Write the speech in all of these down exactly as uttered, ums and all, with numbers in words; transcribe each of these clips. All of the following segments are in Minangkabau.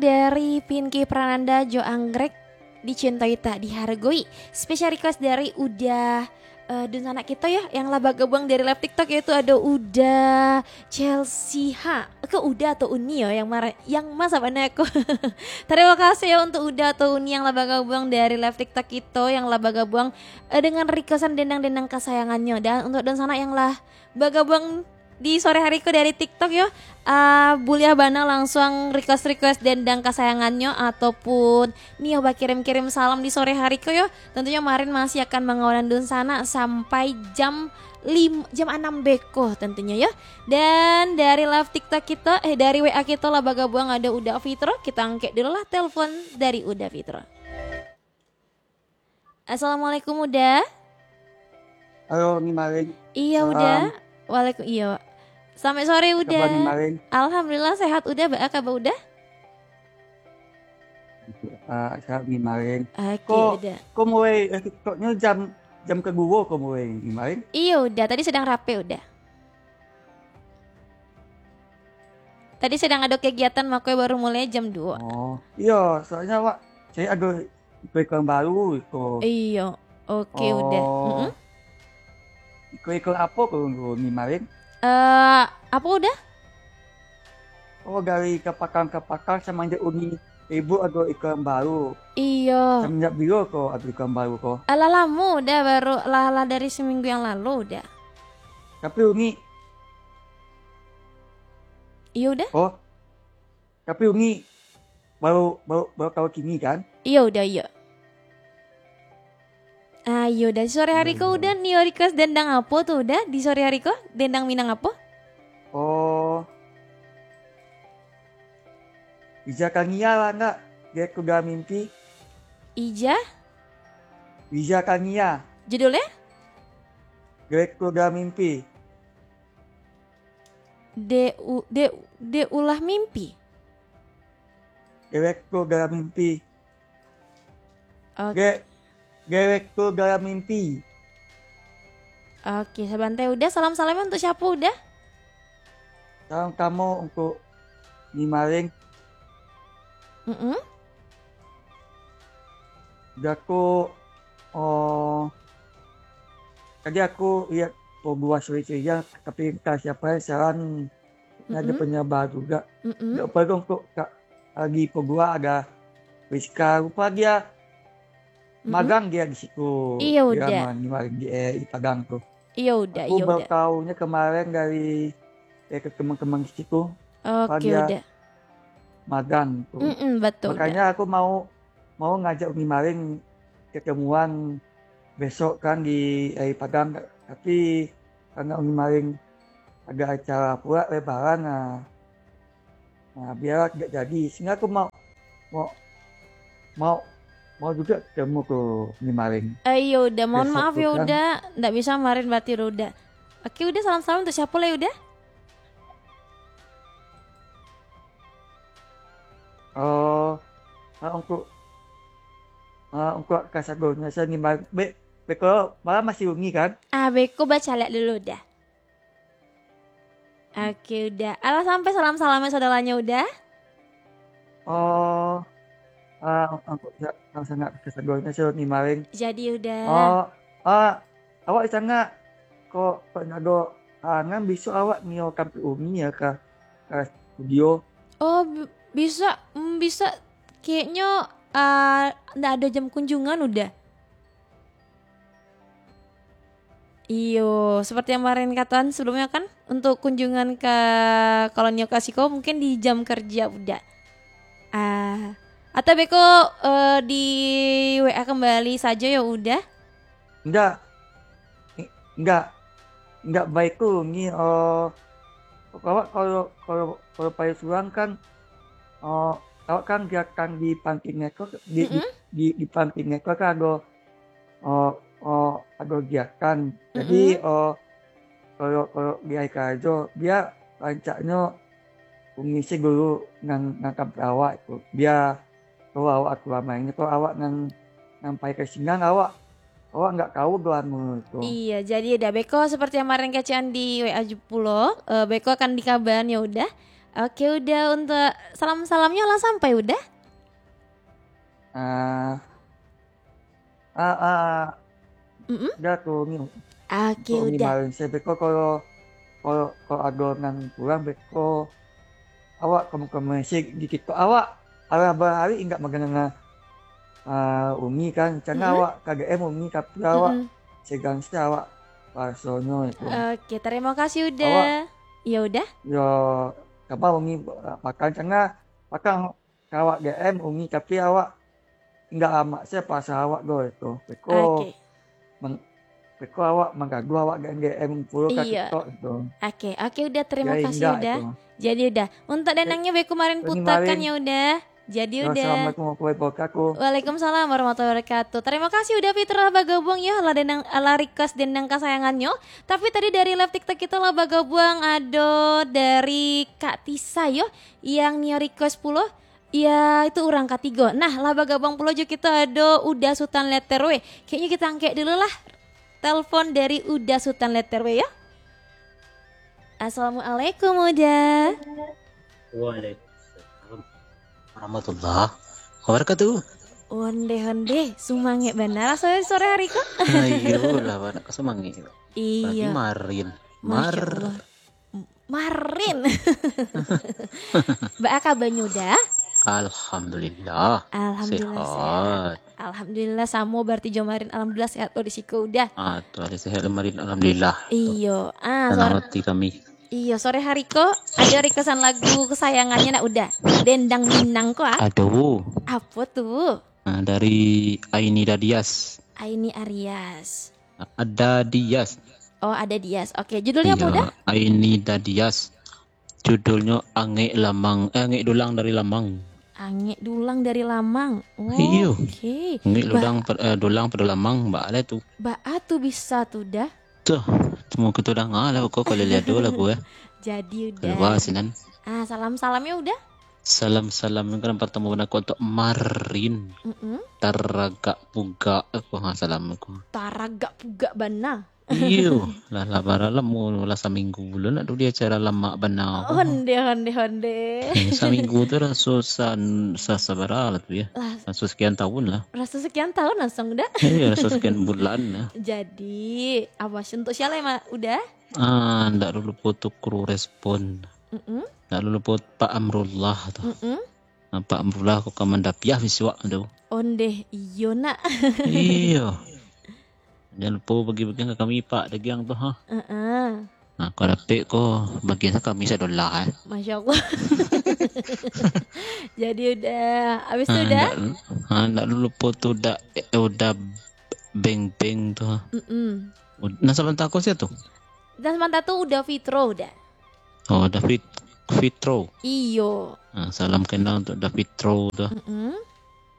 Dari Pinky Prananda jo Anggrek, Dicintai Tak Dihargoi. Special request dari Uda, eh, dunsanak kito yo, yang lah bagabuang dari live TikTok, yaitu ado Uda Chelsea ha. Ke Uda atau Uni yo, yang mara-, yang ma sabana ko. Tarimo kasih yo untuk Uda atau Uni yang lah bagabuang dari live TikTok kito, yang lah bagabuang, eh, dengan requestan dendang-dendang kasayangannyo. Dan untuk dunsanak yang lah bagabuang di sore hari ko dari TikTok yo, ah, buliah bana langsuang request-request dendang kasayangannyo ataupun nio bakirim-kirim salam di sore hari ko yo. Tentunyo Marin masih akan mangawanan dunsanak sampai jam lim-, jam anam beko tentunyo yo. Dan dari live TikTok kito, eh, dari W A kito lah bagabuang ado Uda Fitro. Kito angkek dulu lah telepon dari Uda Fitro. Assalamualaikum, Uda. Halo, Ni Marin. Iya, Uda. Salam. Waalaikum-, iya. Selamat sore, Uda. Kabar Ni Marin? Alhamdulillah, sehat, Uda. Baa kabar, Uda? Ah, sehat, Ni Marin. Oke, Uda. Ko mulai, eh, TikToknyo jam, jam kaduo ko mulai, Ni Marin? Iya, Uda. Tadi sedang rape, Uda. Tadi sedang ado kegiatan, mako baru mulai jam duo. Oh, iyo, soalnyo awak cari ado iko-iko yang baru, iko. Iyo, oke, Uda. Oh. Mm-mm. Iko-iko apo ko, Ni Marin? Eh, apo, Uda? Oh, dari kapakang-kapakang samanjak Uni ribut ado iko yang baru. Iyo. Samanjak bilo ko ado iko yang baru ko? Alah lamo, Uda, baru lah, lah dari seminggu yang lalu, Uda. Tapi Uni Iyo, Uda. Oh. Tapi Uni baru, baru, baru tahu kini, kan? Iyo, Uda, iyo. Ah, iyo, Uda. Sore hari ko, Uda, nio request dendang apo tu, Uda? Di sore hari ko, dendang Minang apo? Oh. Ija Kania lah, ndak? Dia Kuda Mimpi. Ija? Ija Kania. Judulnya? Dia Kuda Mimpi. Dek u-, dek, dek ulah mimpi? Dewek tu dalam mimpi. Oke. Dek, dewek tu dalam mimpi. Oke, sabantai, Uda. Salam-salamnya untuk siapa, Uda? Salam kamu untuk Ni Maring. Mm-mm. Udah aku, oh, tadi aku lihat Pogba sore-sore, tapi entah siapa yang saran, ada Mm-mm. penyebar juga. Mm-mm. Nggak perlu kok, Kak, lagi Pogba ada Rizka, rupa dia Mm-mm. magang dia di situ. Iya, dia Uda. ma-, di, di, eh, di Padang tuh. Iya, Uda, Aku iya, baru Uda. tahunya kemarin dari, eh, ke teman-teman di situ. Oke, Pada Uda. magang tuh. Mm-mm, betul, Uda. Makanya aku mau, mau ngajak Umi Maring ketemuan besok kan di, eh, Padang, tapi karena Umi Maring ada acara pula lebaran, nah, Nah, biarlah tidak jadi. Sehingga aku mau, mau, mau, mau juga ketemu ke Ni Maring. Eh, iya, Uda. Mohon Besok maaf tu ya, kan. Uda. Ndak bisa Marin berarti, Uda. Oke, Uda, salam-salam untuk siapa lah, Uda? Oh, ah, untuk, ah, untuk kasagonya saya Ni Maring. Be-, beko malam masih ungi, kan? Ah, beko bacalak dulu, Uda. Oke, Uda. Alah sampai salam-salamnya saudaranya, Uda? Oh, ah, aku sa-, sangat kesagolnya, so, Ni Maring. Jadi, Uda. Oh, ah, awak di sana kok, kok nado, ah, ngan besok awak nio ka Umi ya, ka, ka studio? Oh, bi-, bisa, mm, bisa. Kayaknya, ah, ndak ada jam kunjungan, Uda. Iyo, seperti yang Marin katakan sebelumnya kan, untuk kunjungan ka kolonio kasiko mungkin di jam kerja, Uda. Ah, atau beko, eh, di W A kembali saja ya, Uda? Ndak. Ndak. Ndak baik tu, ni, eh, awak kalau, kalau, kalau pai surang kan, eh, awak kan gerakan di panti neko, di, di, Mm-mm. di, di panti neko kan ada oh, oh, ado kegiatan. Jadi, Mm-mm. oh, kalau, kalau di hari karajo, bia rancaknyo mangisi dulu nan, nan ka awak tu. Bia kalau awak tu ramainyo, kalau awak nan, nan pai ka sinan, awak, awak ndak tahu doh anu tu. Iya, jadi Uda, beko seperti yang kemarin kecek di W A pulo, eh, beko akan dikabaran ya Uda. Oke, Uda, untuk salam-salamnyo lah sampai, Uda? Ah, ah, ah, Mm-mm. Uda tu ni. Oke, Uda. Marin se beko kalau, kalau, kalau ado nan kurang beko, awak kamu-kamu se di TikTok awak. Alah bahari indak magana ah, Umi kan, cangah Mm-mm. awak ka D M Umi, tapi awak Mm-mm. segan se awak rasonyo itu. Oke, terima kasih, Uda. Awak Ya, Uda. Yo, kama Umi makan cangah, makan ka awak D M Umi, tapi awak indak amak se pasal awak do itu. Beko Oke. mang-, beko awak manggaduah awak D M pulo ka Iya. TikTok itu. Oke, oke, Uda, terima Yo, kasih, indak Uda. itu. Jadi, Uda, untuk Eh, danangnyo beko marin Umi putakan Marin. ya, Uda. Jadi, Yo, Uda. Assalamualaikum warahmatullahi wabarakatuh. Waalaikumsalam warahmatullahi wabarakatuh. Terima kasih Uda Fitro lah bagabuang yo, lah denang, lah request dendang kasayangannyo. Tapi tadi dari live TikTok kito lah bagabuang ado dari Kak Tisa yo, yang nio request pulo. Ya, itu urang katigo. Nah, lah bagabuang pulo jo kito ado Uda Sutan Letter W. Kayaknya kita angkek dulu lah. Telepon dari Uda Sutan Letter W yo. Assalamualaikum, Uda. Waalaikumsalam warahmatullahi wabarakatuh. Onde, onde, sumangek bana raso sore hari ko. Ayolah, bana ka sumangek. Iyo. Berarti marin. Masya Mar- Allah. M-, marin. Baa kabanyo, Uda? Alhamdulillah. Alhamdulillah, sehat. Sehat. Alhamdulillah, samo berarti jo marin. Alhamdulillah, sehat lo di siko, Uda. Ah, tu ado sehat marin, alhamdulillah. Iyo. Ah, Tanang sore, hati kami. iyo, sore hari ko, ado requestan lagu kesayangannya nak, Uda? Dendang Minang ko, ah? Aduh. Apo tu? Ah, dari Aini Dadias. Aini Arias. Ada Dias. Oh, ada Dias. Oke, judulnya apa, Uda? Aini Dadias. Judulnyo Angek Lamang, eh, Angek Dulang dari Lamang. Angek Dulang dari Lamang. Oh, Iyo. Oke. Angek Ba- Dulang per-, eh, Dulang pada Lamang, baa lah tu. Baa tu bisa tu, Da? Tuh, cuma kita danga lah, kok kalau lihat dulu lagu, eh. Jadi, Uda. Keluar sinan. Ah, salam-salamnya, Uda? Salam-salam yang kan pertama bana ko untuk Marin. Mm-mm. Taragak pugak, eh, ko, ha, salam ko. Taragak pugak bana. Iyo, lah, lah, bara lah, mu-, lah saminggu bulan nak tu di acara lamak bana ko. Onde, onde, onde. Eh, saminggu tu raso san-, sa-, sabara lah tu ya. Lah. Raso sekian tahun lah. Raso sekian tahun langsung dah. Iyo, raso sekian bulan lah. Jadi, awas untuk siapa emang udah? Ah, ndak dulu lupo tu kru respon. Mm-mm. Ndak dulu lupo Pak Amrullah tu. Mm-mm. Ah, Pak Amrullah ko ka mandapiah bisuak tu. Ondeh, iyo nak. Iyo. Jan lupo bagi-bagian ka kami, Pak, dagiang tu, ha. Heeh. Nah, kok dapek ko, bagian kami sadolah, eh. Masya Allah. Jadi udah, habis tu Ah, udah? Ndak, ah, ndak lupo tu udah, eh, udah beng-beng tu, ha. Mm-mm. Ud-, nah, sabanta ko sia tu? Nah, sabanta tu udah Fitro, udah. Oh, David Fitro. Iyo. Ah, salam kenal untuk David Fitro tu. Mm-mm.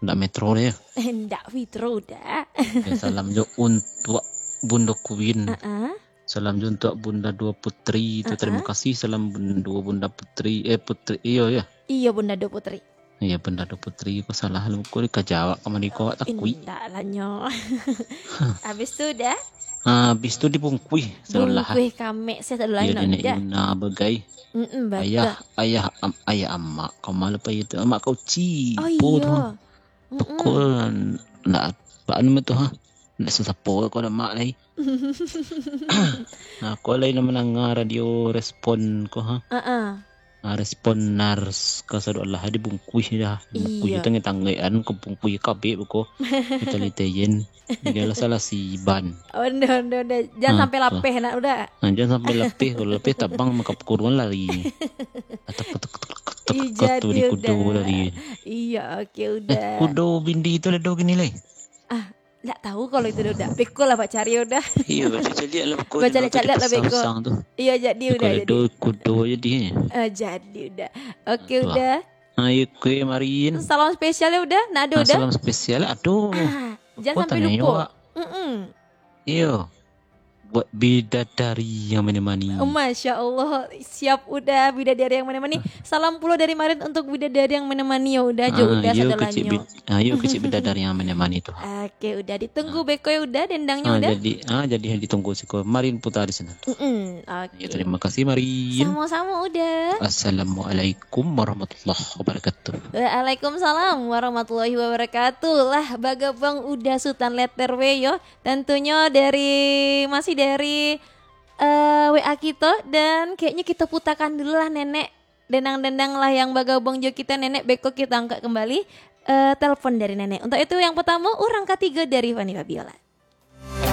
Ndak Metro dia. Ndak Fitro dah. Ya, salam jo untuk Bunda Queen. Heeh. Salam jo untuk Bunda Dua Putri tu. Heeh. Terima kasih salam bun-, dua Bunda Putri, eh, Putri. Iyo, ya. Iyo, Bunda Dua Putri. Iyo, Bunda Dua Putri, ko salah lu. Ko dikajawab ka mandi ko, awak takui. Indak lah, nyo. Habis tu dah? Ah, habis tu dibungkuih sadolah. Bungkuih kamek, saya sadolah. Iyo, indak, Nenek indak. Yuna bagai. Mm-mm, batua. Ayah, ayah, am-, ayah amak, kau malu apa itu? Amak kau ci. Oh, po tu. Iyo. Mm-mm. Pokok ndak, apa nama tu, ha? Ndak sasapo ko dah mak lai. Nah, ko lai nak mandanga radio respon ko, ha? Heeh. Ah, respon nars ka sadolah dibungkuih dah. Bungkuih Iyo. Tanggai-tanggai an, ko bungkuih kabek ko. Kita liteyen. Dialah salah si Iban. Ondeh, ondeh, ondeh. Jan Ah, sampai tu. Lapeh nak udah. Ah, jan sampai lapeh. Kalau lapeh tabang maka kuruan lari. Atak, atak, atak, atak, Ih, atak tu jadi di kudo udah. Lari. Iya, oke, Eh, udah. Kudo bindi tu lah do gini lai. Ah, ndak tahu kalau itu udah. Beko lah, Pak, cari udah. Iya, baca caliak lah beko. Baca caliak lah beko. Iya, jadi udah, jadi. Kudo jadi. Eh, jadi udah. Oke, udah. Ayo, kue marin. Salam spesial ya udah, nak ada udah. Salam spesial, aduh. Ah, jangan sampai lupa. Mm-mm. Iyo. Buat bidadari yang menemani. Masya Allah, siap Uda, bidadari yang menemani. Salam pulo dari Marin untuk bidadari yang menemani, yo Uda, jo Ah, Uda yo sadolahnyo. kecik bid, ah, yo kecik bidadari yang menemani tu. Oke Uda, ditunggu beko yo Uda, dendangnyo Ah, Uda. jadi ah jadi ditunggu siko. Marin putar di sana. Mm-mm, oke. Ya, terima kasih Marin. Sama-sama Uda. Assalamualaikum warahmatullahi wabarakatuh. Waalaikumsalam warahmatullahi wabarakatuh. Lah bagabuang Uda Sutan Letter W yo. Tentunyo dari masih dari eh, W A kito, dan kayaknya kita putakan dulu lah Nenek. Dendang-dendang lah yang bagabuang jo kita Nenek, beko kita angkat kembali eh, telepon dari Nenek. Untuk itu yang pertama, orang ketiga dari Fani Fabiola.